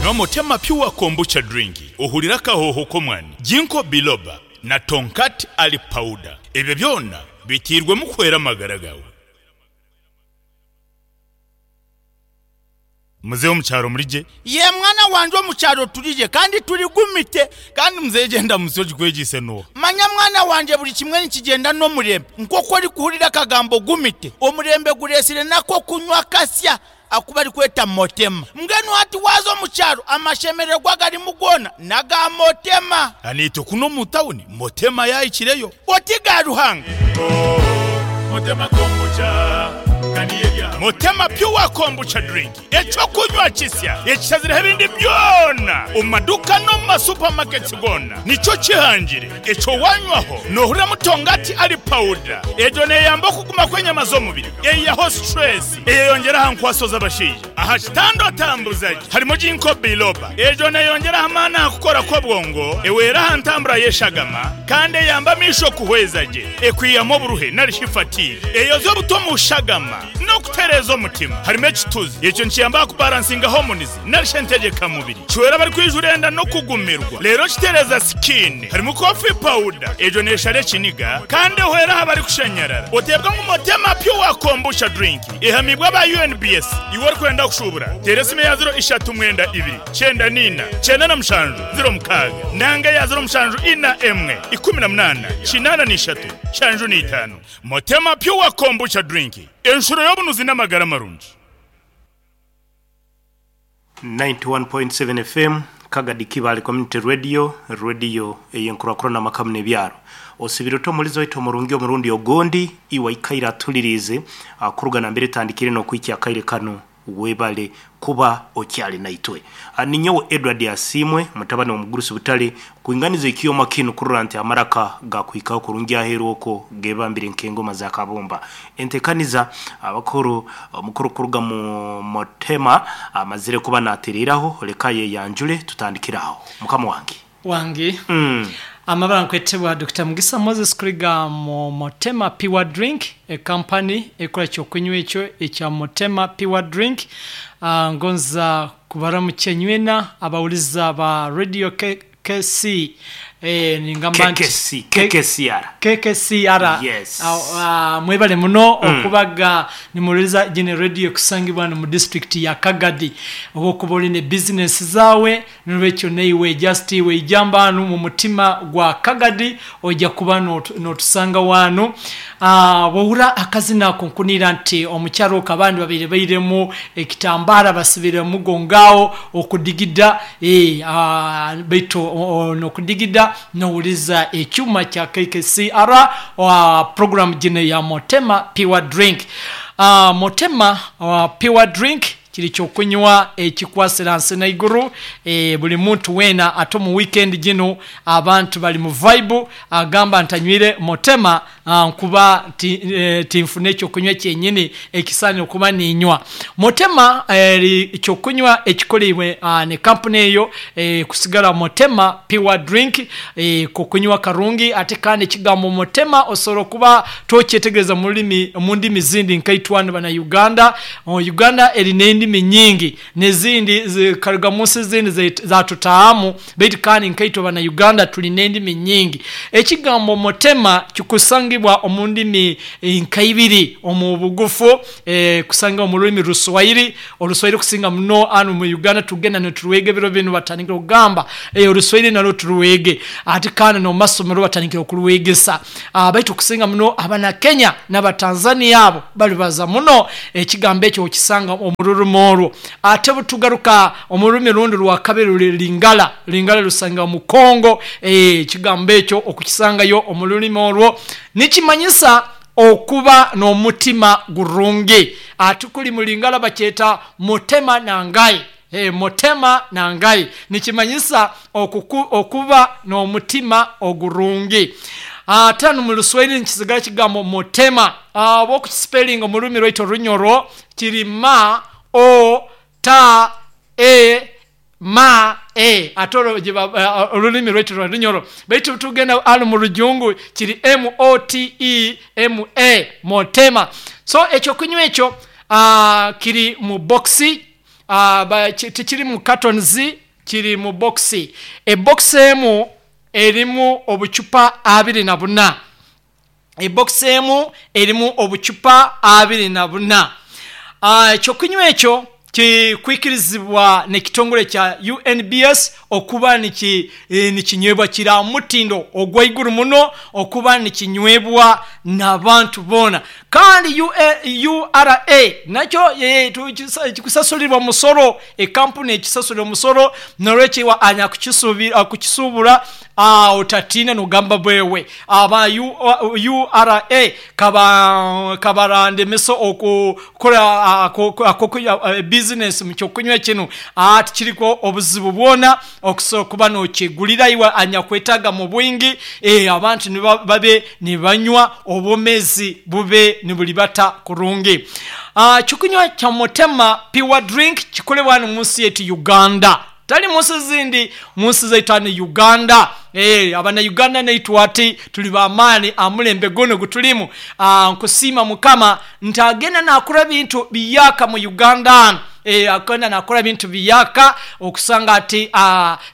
Nywa Motema Pure Kombucha Drink ohurire akahooho k'omwani, Ginkgo Biloba na Tongkat Ali Powder. Ebyo byona biteirwemu kuhwera amagara gaawe. Muzeeyi omu kyaro muri gye? Yee mwana wangye omu kyaro turi gye kandi turi gumite. Kandi muzeeyi gyenda munsi ogikwegyeise n'oha? Manya mwana wangye buri kimwe nikigyenda n'omurembe. Nk'oku orikuhurira akagambo gumite, omurembe gureetsire n'ak'okunywa kasya aku barikweta Motema. Mbwenu hati waaza omu kyaro amashemererwa agarimu goona n'aga Motema. Naitwe kunu omu tawuni Motema yaahikireyo. Oti ga Ruhanga. Motema Pure Kombucha Drink, eky'okunywa kisya ekishazireho ebindi byona omu maduuka n'omu ma supermarkets goona nikyo kihangire. Ekyo wanywaho nohuriramu tongati ali powder. Egyo neyamba okuguma kw'enyama z'omubiri, eyihaho stress, eyeyongyera aha nkwaso z'abashaija. Aha kitanda otambuza gye harimu Ginkgo biloba. Egyo neyongyera aha maani aha kukora kw'obwongo, ehwera aha ntambura y'eshagama kandi eyamba amaisho kuhweza gye. Ekwihamu oburuhe nari shi fatigue. Eyoza obuta omu shagama n'okutereeza omutima. Harimu ekituzi. Ekyo nikiyamba aha kubaransinga hormones nari shi entegyeka mubiri. Kihwera abarikwijura enda n'okugumirwa. Reero kitereeza skin. Harimu coffee powder. Egyo neshara ekiniga kandi ehwera aha barikushanyarara. Oteebwa ngu Motema Pure Kombucha Drink. Ehamiibwe aba UNBS. Iwe orikwenda kushuubura, teera esimu eya ziro ishatu mwenda ibiri, kyenda n'ina, kyenda na mushanju, ziro mukaaga, nanga eya ziro mushanju ina emwe, ikumi na munaana, kinaana na ishatu, nshanju na itaano. Motema Pure Kombucha Drink, enshuro y'obunuzi n'amagara marungi. 91.7 FM, Kagadi Kibaale Community Radio, rediyo ey'enkurakurana amaka muno ebyaro. Osibire ota omulizi waitu omurungi omurundi ogundi, iwe aikaire atuliriize kuruga nambere etandikire n'okuhikya akaire kanu, webale kuba okyali naitwe. Ninyowe Edward Asiimwe, mutabani w'omugurusi Butale, kwinganiza ekyoma kinu kurora nti amaraka gakuhikaho kurungi aheeru okwo gebambire nk'engoma za kabumba. Entekaniza, Abakuru, Omukuru kuruga mu Motema amazire kuba natereraho, leka ayeyanjule tutandikire aho. Mukama wange. Wange. Amabara nkwetebwa Dokita Mugisa Moses kuruga mu Motema Pure Drink, e company ekora ekyokunywa ekyo ekya Motema Pure Drink. Ngonza kubaramukya inywena abawuliza ba Radio KKC ningamba nti KKC, KKCR. KKCR. Yes. Mwebale muno okubaga nimuhuririza gino radio ekusangibwa hanu mu district ya Kagadi. Obu okuba ori ne business zaawe nolwekyo naiwe just weijamba hanu mu mutima gwa Kagadi oija kuba notusangaho hanu. Bwohurra akazina ako nkuniira nti omukyaro okwo abandi babaire bairemu ekitambara basibire omugongo aho okudigida baitu nokudigida nohuriza ekyuma kya KKCR program gino eya Motema Pure Drink. Motema Pure Drink kiri kyokunywa ekikwasire hansi naiguru buri muntu weena ate omu weekend ginu abantu bari mu vibe agamba nti anywire Motema nkuba tinfuna ekyokunywa kyenyini ekisaanire kuba niinywa. Motema eri kyokunywa ekikoreibwe ne kampuni eyo kusigara Motema Pure Drink kokunywa karungi ate kandi ekigambo Motema osobola kuba tokyetegereza mururimi mundimi zindi nkaitwe hanu bana Uganda. Uganda eri nendimi nyingi nezindi zikaruga munsi ezindi zatutahamu baitu kandi nkaitwe bana Uganda turi nendimi nyingi. Ekigambo Motema kikusangibwa omu ndimi nka ibiri omu bugufu kusangibwa omu rurimi Ruswahili. Oruswahili kusinga muno hanu omu Uganda tugenda niturwega ebiro binu batandikire kugamba Oruswahili narwo turwege ati kandi n'omu masomero batandikire kurwegesa. Baitu kusinga muno abana Kenya n'aba Tanzania abo baribaza muno ekigambo ekyo okisanga omu rurimi orwo. Ate obutugaruka omu rurimi orundi orwakabiri ruri Lingala. Lingala rusangibwa mu Congo ekigambo ekyo okukisangayo omu rurimi orwo nikimanyisa okuba n'omutima gurungi. Ati kuri mu Lingala bakyeta motema na ngai. Motema na ngai nikimanyisa okuba n'omutima ogurungi. Ate hanu mu Ruswahili nikisigara ekigambo motema. Obu okukisipelinga omu rurimi rwaitu Orunyoro kiri ma, o, ta, e, ma, e. Ate orwo orurimi rwaitu rwa Runyoro. Baitu obutugenda hanu mu Rujungu kiri M-O-T-E-M-A, motema. So ekyokunywa ekyo kiri mu bokisi. Tikiri mu cartons, kiri mu box. Ebox emu erimu obucupa 24. Ebox emu erimu obucupa 24. Ekyokunywa ekyo kikwikirizibwa n'ekitongole kya UNBS okuba nikinywebwa, kiri aha mutindo ogw'aiguru muno okuba nikinywebwa n'abantu boona. Kandi URA nakyo kikusasulirwa omusoro, ekampuni ekisasulira omusoro, n'olwekyo iwe anyakukisuubura otatiina n'ogamba bwewe aba URA kabarandemesa okukora bizinesi mu kyokunywa kinu. Tikiriku obuzibu bwona okusobola kuba nokyegulira iwe anyakwetaaga mu bwingi, abantu babe nibanywa, obwomezi bube nibulibata kurungi. Ekyokunywa kya Motema Pure Drink kikolebwa wanu omunsi yaitu Uganda, tali munsi zindi, munsi zaitu hanu Uganda. Abanauganda naitwe ati tuli b'amaani aha mulembe gunu ogutulimu. Nkusiima Mukama nti agenda nakora ebintu biyaka mu Uganda hanu. Agenda nakora ebintu biyaka okusanga ati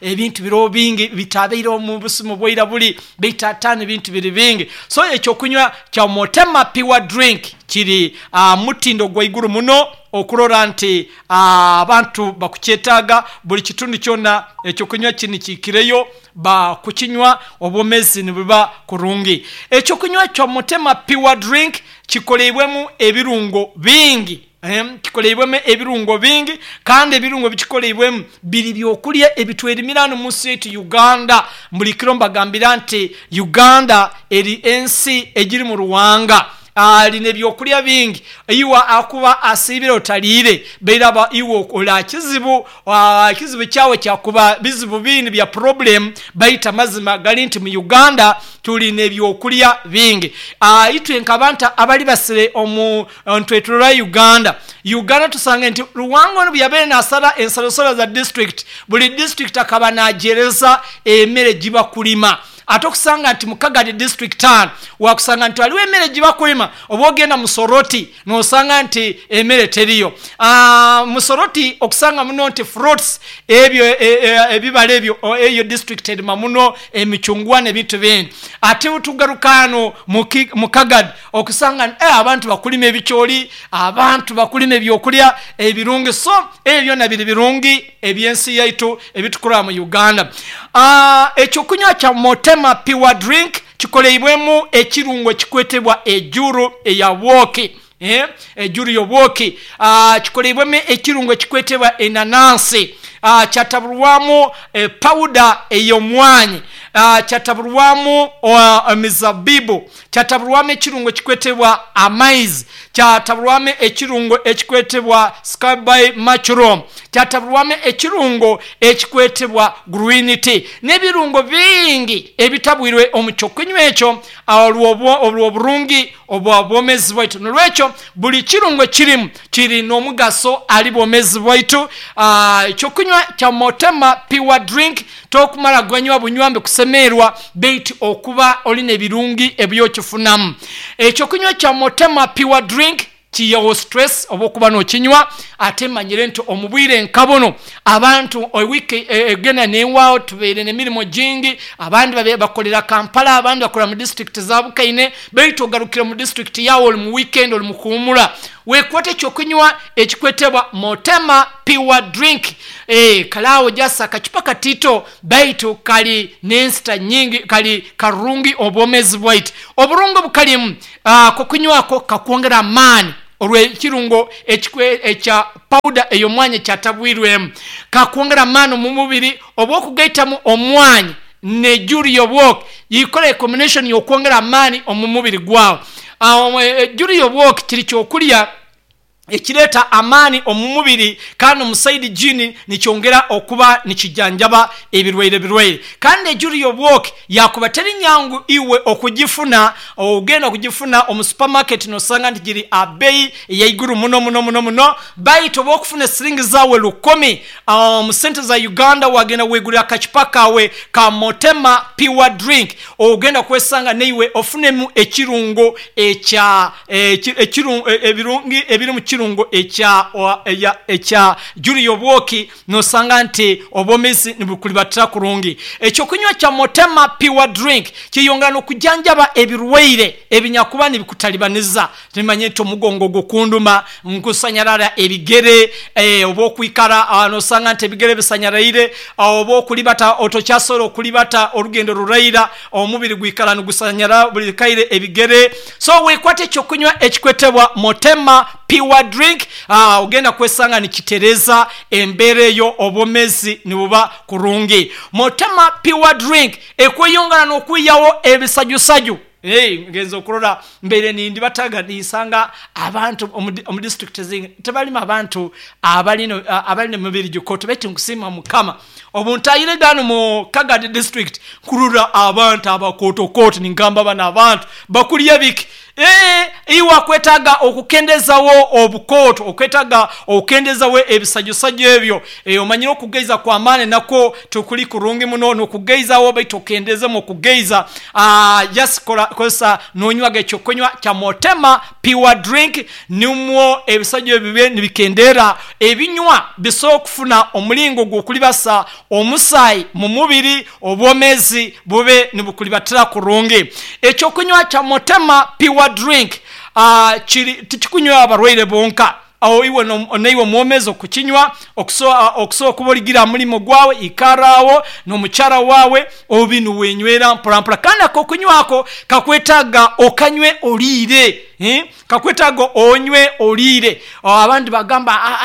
ebintu biriho bingi bitabaireho omu busimu bwaira buli, baitu hati hanu ebintu biri bingi. So ekyokunywa kya Motema Pure Drink kiri aha mutindo gwaiguru muno okurora nti abantu bakukyetaaga buli kitundu kyona ekyokunywa kinu kiikireyo bakukinywa obwomezi nibuba kurungi. Ekyokunywa kya Motema Pure Drink kikoleibwemu ebirungo bingi, kikoleibwemu ebirungo bingi, kandi ebirungo ebikikoleibwemu biri byokulya ebitwerimira hanu omunsi yaitu Uganda. Buli kiro mbagambira nti Uganda eri ensi egirimu ruwanga, erina ebyokulya bingi. Iwe akuba asiibire otaliire, bairaba iwe ola kizibu, ekizibu kyawe kyakuba bizibu bindi bya purobulemu, baitu amazima gali nti mu Uganda tulina ebyokulya bingi. Itwe nk'abantu abalibasire omu ntwetoroora Uganda, Uganda tusanga nti Ruwanga onu bweyabaire nasala ensalosalo za disitulikiti, buli disitulikiti akaba nagyereza emere gyibakulima. Ate okusanga nti mu Kagadi disitulikiti hanu wakusanga nti haliwo emere gyibakulima, oba ogenda mu Soroti nosanga nti emere teriyo. Mu Soroti okusanga muno nti fruits, ebyo ebibala ebyo, eyo disitulikiti erima muno emicungwa n'ebintu bindi. Ate bwetugaruka hanu mu Kagadi okusanga nti abantu bakulima ebicooli, abantu bakulima ebyokulya ebirungi. So ebyo byona biri birungi eby'ensi yaitu ebitukurora mu Uganda. Ekyokunywa kya Motema Pure Drink kikoleibwemu ekirungo ekikwetebwa ejuru eya bwoki, ejuru y'obwoki. Kikoleibwemu ekirungo ekikwetebwa enanansi, kyataburwamu pawuda ey'omwanyi, kyataburwamu emizabibu, kyataburwamu ekirungo ekikwetebwa amaizi, kyataburwamu ekirungo ekikwetebwa skyby mushroom, kyataburwamu ekirungo ekikwetebwa green tea, n'ebirungo bingi ebitabwirwe omu kyokunywa ekyo olw'oburungi obwa bwomezi bwaitu. Nolwekyo buli kirungo ekirimu kiri n'omugaso ali bwomezi bwaitu. Ekyokunywa kya Motema Pure Drink tokumara ganywa bunywa mbe kusemerwa, baitu okuba olina ebirungi ebyokifunamu. Ekyokunywa kya Motema Pure Drink kiyawo stress oba okuba nokinywa, ate manyire nti omu bwire nka buno abantu ewiiki egenda newaawo tubaire n'emirimo gingi, abandi bakolera Kampala, abandi bakolera mu disitulikiti za Bukaine, baitu ogarukire mu disitulikiti yawe oli mu weekend, oli mu kuwumula, wekwate ekyokunywa ekikwetebwa Motema Pure Drink. Kale awo just akacupa katito baitu kali n'ensita nyingi, kali karungi obwomezi bwaitu. Oburungi obukalimu, kokunywako kakwongera amaani olw'ekirungo ekya pawuda ey'omwanya ekyatabwirwemu, kakwongera amaani omu mubiri. Oba okugaitamu omwanya n'ejuru y'obwoki yikora ecombination y'okwongera amaani omu mubiri gwawe. Ejuru y'obwoki kiri kyokulya ekireeta amaani omu mubiri, kandi omu saidi gini nikyongera okuba nikijanjaba ebirwaire birwaire. Kandi ejuru y'obwoki yakuba teri nyangu iwe okugifuna, ogenda kugifuna omu supermarket nosanga nti giri abeeyi eyaiguru muno muno muno muno, baitu oba okufuna esiringi zaawe 1000 mu sente za Uganda wagenda wegurira akacupa kawe ka Motema Pure Drink, ogenda kwesanga naiwe ofunemu ekirungo ekya ebirungi ebiri mu kirungo. Ekirungo ekya Julio Bwoki, nosanga nti obwomezi nibukulibatira kurungi. Ekyokunywa kya Motema Pure Drink kiyongera n'okujanjaba ebirwaire ebinyakuba nibikutalibaniza. Timanye nti omugongo gukunduma, nkusanyarara ebigere, oba okwikara nosanga nti ebigere bisanyaraire, oba okulibata otokyasobola okulibata orugendo ruraira, omubiri gwikara nigusanyara buli kaire ebigere. So wekwate ekyokunywa ekikwetebwa Motema Pure Drink, ogenda kwesanga nikitereza embeera eyo, obwomezi nibuba kurungi. Motema Pure Drink ekweyongera n'okwiyawo ebisajusaju. Ngenze okurora mbeire nindibataga ninsanga abantu omu district ezingi tebalimu abantu abalina emibiri gikoto, baitu nkusiima Mukama obu ntahire ganu mu Kagadi district nkurora abantu abakotokoto, ningamba banu abantu bakulya biki? Iwe akwetaaga okukendezawo obukoto, okwetaaga okukendezawo ebisajusaju ebyo. Omanyire okugaiza kw'amaani nakwo tikuli kurungi muno, n'okugaizawo baitu okendezemu okugaiza. Just kozesa nonywaga ekyokunywa kya Motema Pure Drink, nimwo ebisajju ebyo bibe nibikendera. Ebinywa bisobola okufuna omulingo gw'okulibasa omusaayi mu mubiri, obwomezi bube nibukulibatira kurungi. Ekyokunywa kya Motema Pure Drink kiri tikikunywa abarwaire bonka, aho iwe naiwe omwomezi okukinywa, okusobola okuba origira aha murimo gwawe, ikara aho n'omukyara wawe obi niwenywera mpora mpora. Kandi akokunywa ako kakwetaaga okanywe oriire, kakwetaaga onywe oriire. Abandi bagamba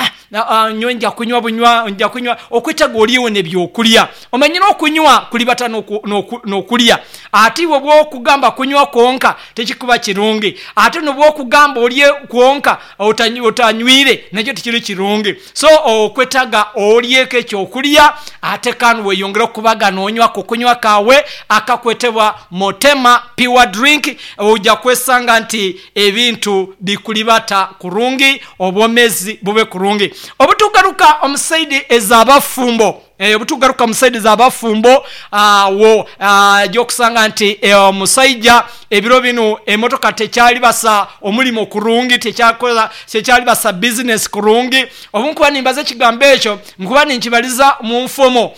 nyowe nja kunywa bunywa, nja kunywa, okwetaaga oryeho n'ebyokurya. Omanyire okunywa kulibata n'okurya, ate iwe obwokugamba kunywa kwonka tikikuba kirungi, ate n'obwokugamba orye kwonka otanywire nakyo tikiri kirungi. So okwetaaga oryeko ekyokurya ate kandi weyongere okubaga nonywa akokunywa kawe akakwetebwa Motema Pure Drink, oja kwesanga nti ebintu bikulibata kurungi, obwomezi bube kurungi. Obutugaruka omu saidi ez'abafumbo, obutugaruka omu saidi z'abafumbo awo gyokusanga nti omusaija ebiro binu emotoka tekyalibasa omulimo kurungi, tekyalibasa bizinesi kurungi. Obu nkuba nimbaza ekigambo ekyo nkuba ninkibaliza mu nfumo,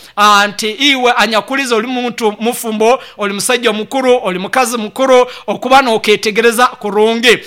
nti iwe anyakuliza oli muntu mufumbo, oli musaija mukuru, oli mukazi mukuru, okuba noketegereza kurungi,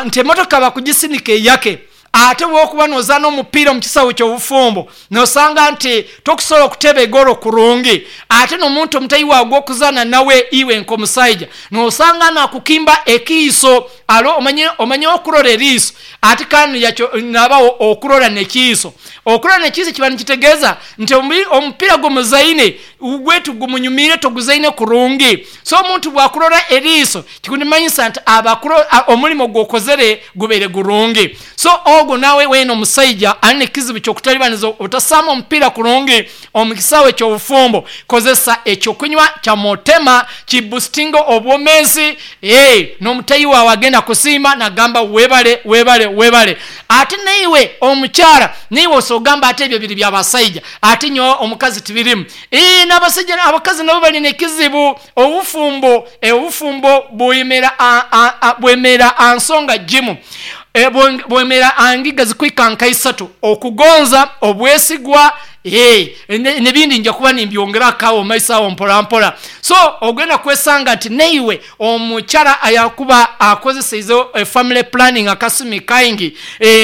nti emotoka bakugisinika eyake, ate bwokuba nozaana omupiira omu kisawe ky'obufumbo nosanga nti tokusobola okuteba egoro kurungi, ate n'omuntu omutayi wawe gw'okuzaana nawe iwe nk'omusaija nosanga nakukimba ekiiso. Alo omanye okurora eriiso, ate kandi nabaho okurora n'ekiiso. Okurora n'ekiiso kiba nikitegeeza nti omupiira gumuzaine gwe tigumunyumiire, toguzaine kurungi. So omuntu bwakurora eriiso kikunimanyisa nti omulimo gwokozere gubaire gurungi. So ogwo nawe weena omusaija alina ekizibu ky'okutalibaniza otasamba omupiira kurungi omu kisaawe ky'obufumbo, kozesa ekyokunywa kya Motema kibustinga obwomezi, n'omutayi wawe agenda kusiima nagamba webale webale webale. Ate naiwe omukyara naiwe osobola ogamba ate ebyo biri by'abasaija, ate nyowe omukazi tibirimu. N'abasaija abakazi nabo balina ekizibu. Obufumbo obufumbo bwemera ansonga jimu, bwemera angiga zikwika nka isatu: okugonza, obwesigwa, n'ebindi nja kuba nimbyongerako awo maiso awo mpora mpora. So ogenda kwesanga nti naiwe omukyara ayakuba akozeseize family planning akasumi kaingi,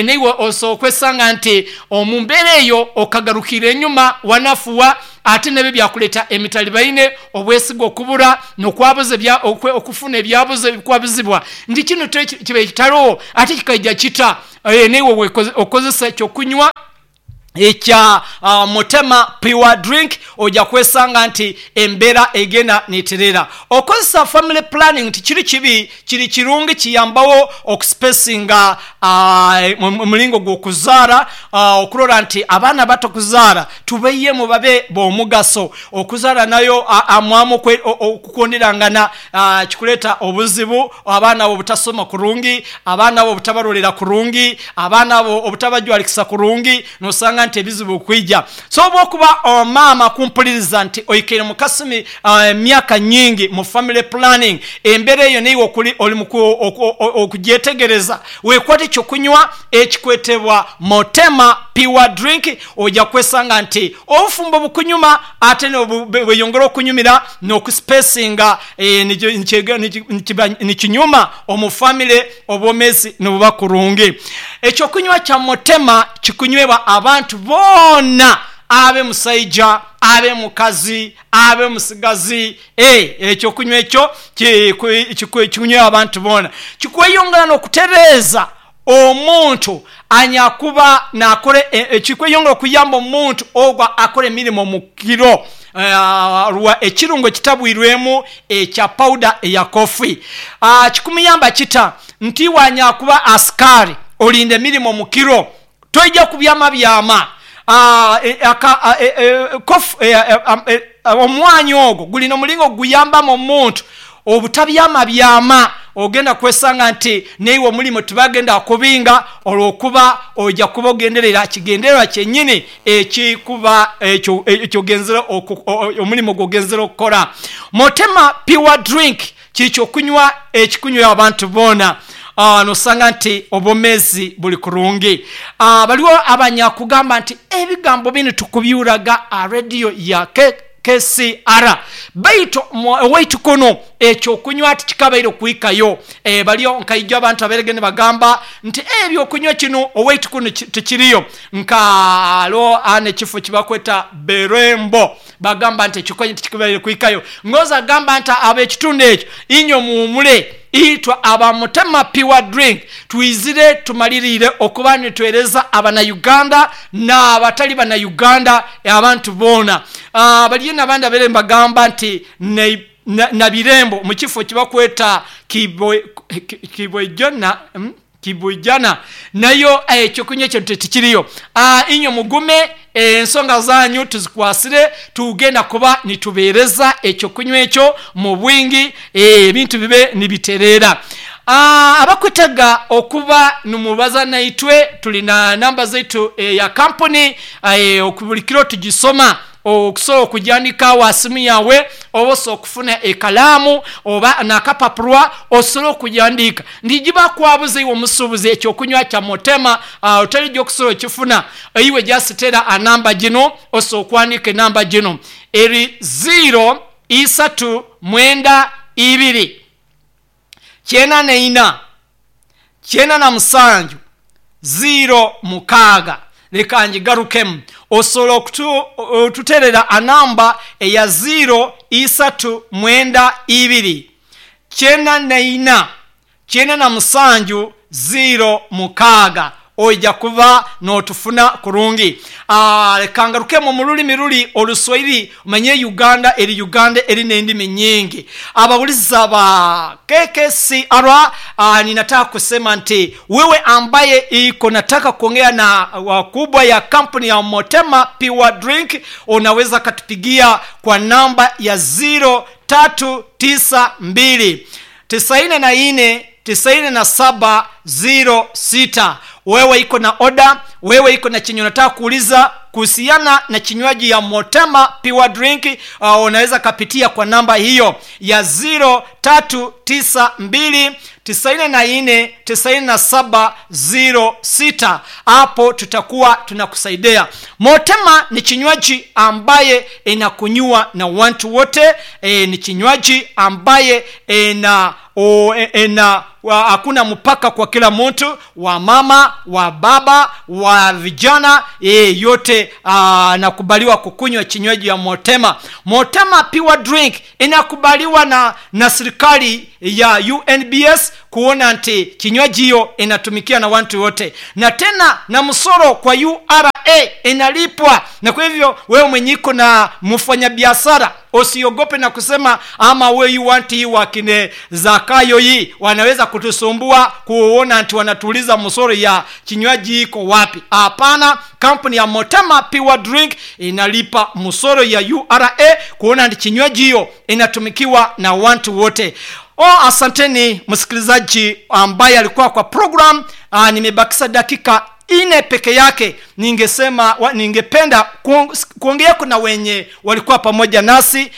naiwe osobola kwesanga nti omu mbeera eyo okagarukira enyuma wanafuwa, ate nebyo byakuleeta emitalibaine, obwesigwa okubura, n'okwabuza okufuna ebyabuze ebikwabuzibwa nti kinu kibaire kitariho ate kikaija kita. Naiwe okozesa ekyokunywa ekya Motema Pure Drink, oja kwesanga nti embeera egenda neterera. Okozesa family planning tikiri kibi, kiri kirungi, kiyambawo okuspacinga omulingo gw'okuzaara, okurora nti abaana batukuzaara tubaiyemu babe b'omugaso. Okuzaara nayo amwamu okukundirangana kikuleeta obuzibu, abaana abo obutasoma kurungi, abaana abo obutabarolera kurungi, abaana abo obutabajwalikisa kurungi, nosanga nti ebizibu kwija. So oba okuba maama kumpuliriza nti oikaire mu kasumi emyaka nyingi mu family planning, embeera eyo naiwe okuli oli okugyetegereza, wekwate ekyokunywa ekikwetebwa Motema Pure Drink, oja kwesanga nti obufumbo bukunyuma ate bweyongera okunyumira n'okusipesinga nikinyuma omu family, obwomezi nibuba kurungi. Ekyokunywa kya Motema kikunywebwa abantu boona, abe musaija, abe mukazi, abe musigazi, ekyokunywa ekyo kikunywebwa abantu boona. Kikweyongera n'okutereeza omuntu anyakuba nakora, kikweyongera okuyamba omuntu ogwo akora emirimu omu kiro rwa ekirungo ekitabwirwemu ekya pawuda eya kofi. Kikumuyamba kita nti iwe anyakuba asikaari olinda emirimu omu kiro, toija kubyamabyama. Omwanya ogwo gulina omulingo oguyambamu omuntu obutabyamabyama, ogenda kwesanga nti naiwe omulimu tibagenda kubinga olwokuba oija kuba ogenderera kigendererwa kyenyini ekikuba ekyo ekyogenzere omulimu gwogenzere okukora. Motema Pure Drink kiri kyokunywa ekikunywa abantu boona, nosanga nti obwomezi buli kurungi. Baliwo abanyakugamba nti ebigambo binu tukubyuraga aha rediyo ya KCR, baitu owaitu kunu ekyokunywa tikikabaire okuhikayo. Baliyo nkaija abantu abairege nibagamba nti ebyokunywa kinu owaitu kunu tikiriyo, nka haliwo n'ekifo kibakweta Berembo, bagamba nti ekyokunywa tikikabaire kuhikayo. Ngozi agamba nti ab'ekitundu ekyo inywe muwumule, itwe aba Mutema Pure Drink twizire tumaliriire okuba nitwereza abanauganda n'abatali banauganda, abantu boona. Baliyo n'abandi abaire nibagamba nti Nabirembo mu kifo kibakweta Kibwijana nayo ekyokunywa ekyo tikiriyo. Inywe mugume, ensonga zanyu tuzikwasire, tugenda kuba nitubeereza ekyokunywa ekyo mu bwingi, ebintu bibe nibitereera. Abakwetaaga okuba nimubaza naitwe, tulina namba zaitu eya kampuni, buli kiro tugisoma, okusobola okugyandika awo aha simu yawe, oba osobola okufuna ekalaamu oba n'akapapura osobole okugyandiika. Ndigiba kwabuza iwe omusuubuzi ekyokunywa kya Motema otarija okusobola okifuna, iwe just tera anamba gino, osobola okuwandiika enamba gino eri ziiro isatu mwenda ibiri kyenda na ina kyenda na musanju ziiro mukaaga. Leka ngigarukemu. Osobola okututerera anamba eya ziiro isatu mwenda ibiri kyenda na ina kyenda na musanju ziiro mukaaga, oija kuba n'otufuna kurungi. Leka ngarukemu omu rulimi ruli Oluswahili, omanye Uganda eri Uganda eri n'endimi nyingi. Abawuliza ba KKCR, ninataka kusema nti wewe ambaye iko nataka kuongea na wakubwa ya kampuni ya Motema Pure Drink, unaweza katupigia kwa namba ya ziro tatu tisa mbili tisaini na nne tisaini na saba ziro sita. Wewe iko na oda, wewe iko na chenye unataka kuuliza kuhusiana na kinywaji ya Motema Pure Drink, unaweza kapitia kwa namba hiyo ya ziro tatu tisa mbili tisaini na nne tisaini na saba ziro sita. Hapo tutakuwa tunakusaidia. Motema ni kinywaji ambaye inakunywa na watu wote, ni kinywaji ambaye hakuna mpaka kwa kila mtu, wa mama, wa baba, wa vijana, yote nakubaliwa kukunywa kinywaji ya Motema. Motema Pure Drink inakubaliwa na serikali ya UNBS kuona nti kinywaji hiyo inatumikia na watu wote, na tena na msoro kwa URA inalipwa. Na kwa hivyo wewe mwenye iko na mfanyabiashara usiogope na kusema ama we you want hii wakine Zakayo hii wanaweza kutusumbua kuona nti wanatuuliza msoro ya kinywaji iko wapi. Hapana, kampuni ya Motema Pure Drink inalipa msoro ya URA kuona nti kinywaji hiyo inatumikiwa na watu wote. Asanteni msikilizaji ambaye alikuwa kwa program. Nimebakisa dakika ine peke yake. Ningesema ningependa kuongea kuna wenye walikuwa pamoja nasi.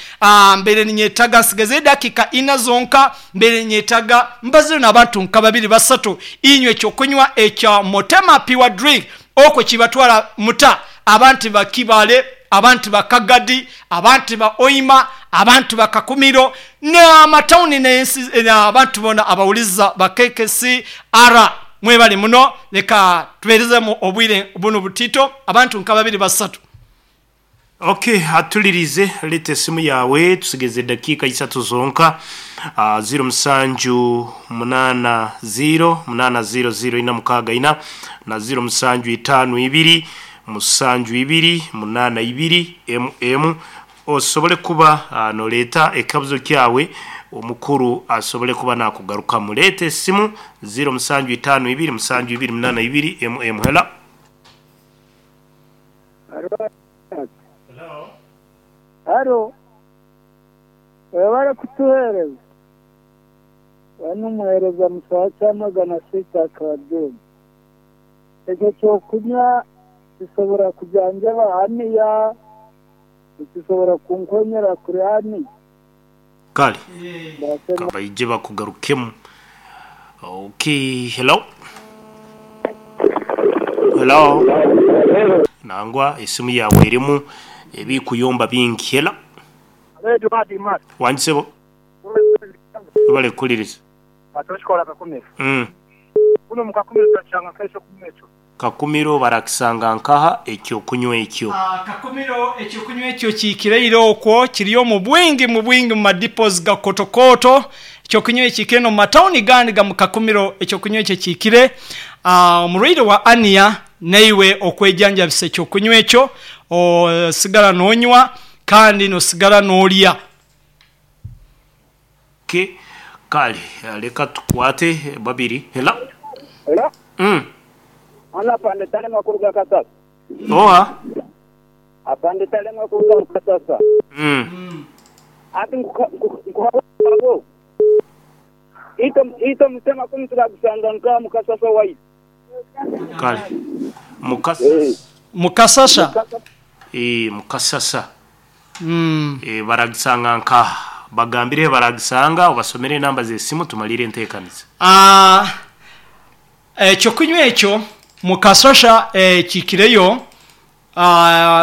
Mbere ninyetaga nsigeze dakika ina zonka, mbere nyetaga mbazire n'abantu nka babiri basatu inywe ekyokunywa ekya Motema Pure Drink okwo kibatwara muta abantu bakibale, abantu bakagadi, abantu ba Oima, abantu bakakumiro n'amatawuni n'ensi abantu bona abawuliza ba KKCR. Mwebale muno, leka tuberezemu obwire buno butito abantu nka babiri basatu. Okay, atulirize lete simu yawe tusigeze dakika 3 zonka. 07 8 0 8 0 0 4 6 4 na 0 7 5 2 7 2 8 2 mm osobole kuba noleta ekabuzo kyawe omukuru asobole kuba nakugaruka. Mulete simu 0 7 5 2 7 2 8 2 mm. Hello. Hello. Haro. Webale kutuhereza. Wanu muhereza musacha 600 akademi. Ekyo kyokunywa kisobora kujanjaba haniya, kisobora kunkonyera kuri hani. Kale. Kabaije bakugarukemu. Okay, hello. Hello. Nangwa esimu yawe erimu ebikuyomba bingi. Hello. Wanjisebo. Bale kuliriza. Batoshkola kakumiro. Kuno mukakumiro twachanga kesho kumwecho. Kakumiro barakisanga nkaha ekyo kunywa ekyo. Kakumiro ekyo kunywa ekyo kikireiro okwo kiriyo mu bwingi mu madipos ga kotokoto. Ekyo kunywa ekikire no matawuni gandi ga mukakumiro ekyo kunywa ekyo kikire. Omurwaire wa ania neiwe okwejanjabisa ekyo kunywa ekyo osigala nonywa kandi nosigala nolya. Okay. Kale leka tukwate babiri. Hello. Hello. Ana pande tale makuruga kasasa. Oha. Apande tale makuruga kasasa. Ati nkuhabo. Ito msema kumtula kusanga nka mukasasa wai. Kale. Mukasasa. Mukasasa. Mukasasa. Baragisanga nka bagambire baragisanga obasomere enamba z'esimu tumalire enteekaniza. Ekyokunywa ekyo mukasosha kikireyo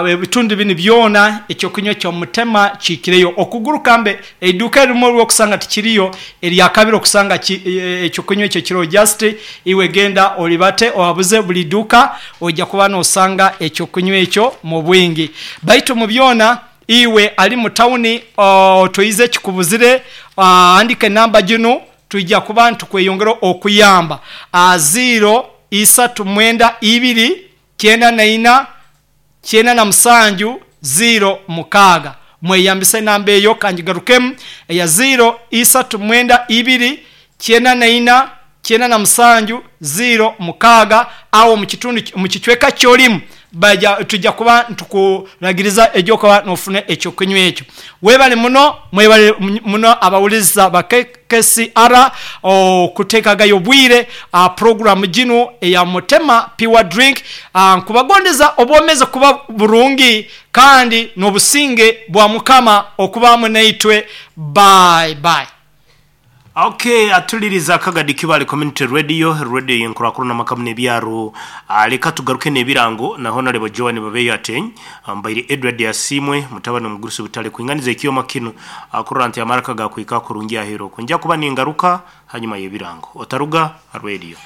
ebitundu bini byona ekyokunywa kyo Mutema kikireyo okuguruka mbe eduka erimu olwokusanga tikiriyo eryakabiri okusanga ekyokunywa ekyo kiro just iwe genda olibate owabuze buli duka ojja kuba nosanga ekyokunywa ekyo mu bwingi. Baitu mu byona iwe ali mu tawuni toyize kikubuzire, andika enamba gino tujja kuba ntukweyongera okuyamba. 0 3 9 2 94 97 0 6. Mweyambise enamba eyo kanjigarukemu eya 0 3 9 2 94 97 0 6. Awo mu kitundu mu kichweka kyolimu baja tujja kuba ntukulagiriza ejyokuba nofune ekyokunywa ekyo. Webale muno, mwebale muno abawuliza ba KKCR okuteekagayo bwire program gino eya Mutema Pure Drink. Nkubagondeza obwomeze kuba burungi kandi n'obusinge bwa Mukama okubamu naitwe. Bye bye. Okay, atuliriza Kagadi Kibale Community Radio, radio yenkurakuru n'amakamu n'ebyaro. Leka tugaruke n'ebirango na Honorable Joan Babeyo Ateny, mbaire Edward Yasimwe mutabani omugurusi butale kuinganiza ekyoma kino akurra nti amaraka gakwika kurungi ahero kunja kuba ningaruka hanyuma y'ebirango. Otaruga radio.